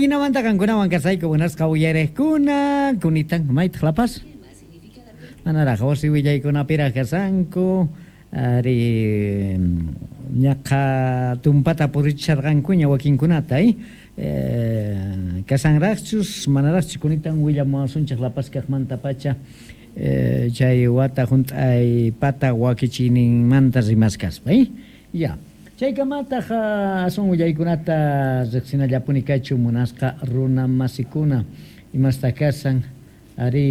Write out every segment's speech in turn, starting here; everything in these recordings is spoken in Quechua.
Ajinamanta qankunawan kasayku munasqa uyariqkuna, kunitan maytaq La Paz? Manaraq wasi willaykunapiraq kashanku, ari ñaqa tumpata purichisharqankuña wakinkunata, eh? Kashanraqchus manaraqchus kunitan willamuwasunchik La Paz kaqmantapacha chay wata hunt'ay pata wakichiyninmanta rimaskaspa, eh? Ya. Chaykamataq aswan willaykunata riqsinallapuni kachun munasqa runa masikuna imastaq kashan arí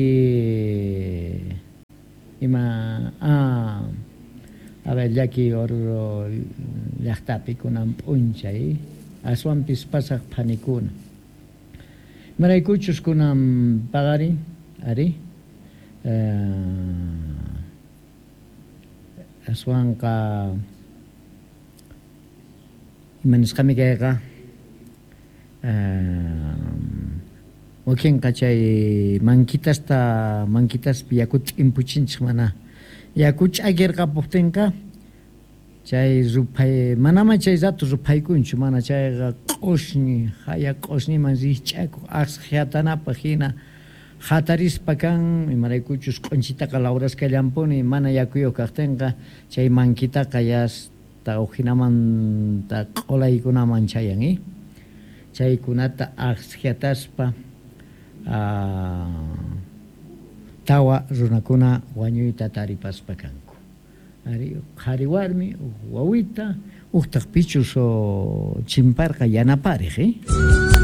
ima ah a ver llaki Oruro llaqtapi kunan p'unchay aswanpis pasaq phanikuna imaraykuchus kunan paqarin arí Aswanqa ima nisqami kayqa wakinqa chay mankitasta mankitaspi yakuta t'impuchinchik mana yaku ch'akirqapuptinqa chay ruphay manamá chay rato ruphaykunchu mana chayqa q'usñi haya q'usñiman rikch'akuq aqshatanapaq hina Hatarispa kan, imaraykuchus q'unchitaqa lawraskallanpuni, mana yakuyuq kaqtinqa chay mankitaqa yasta ujinamanta q'ulaykunaman chayan, i. Chaykunata aqshiataspa tawa runakuna wañuyta taripaspa kanku. Ari, qhari warmi, uj wawita, ujtaq pichus chimparqa yanapariq, i.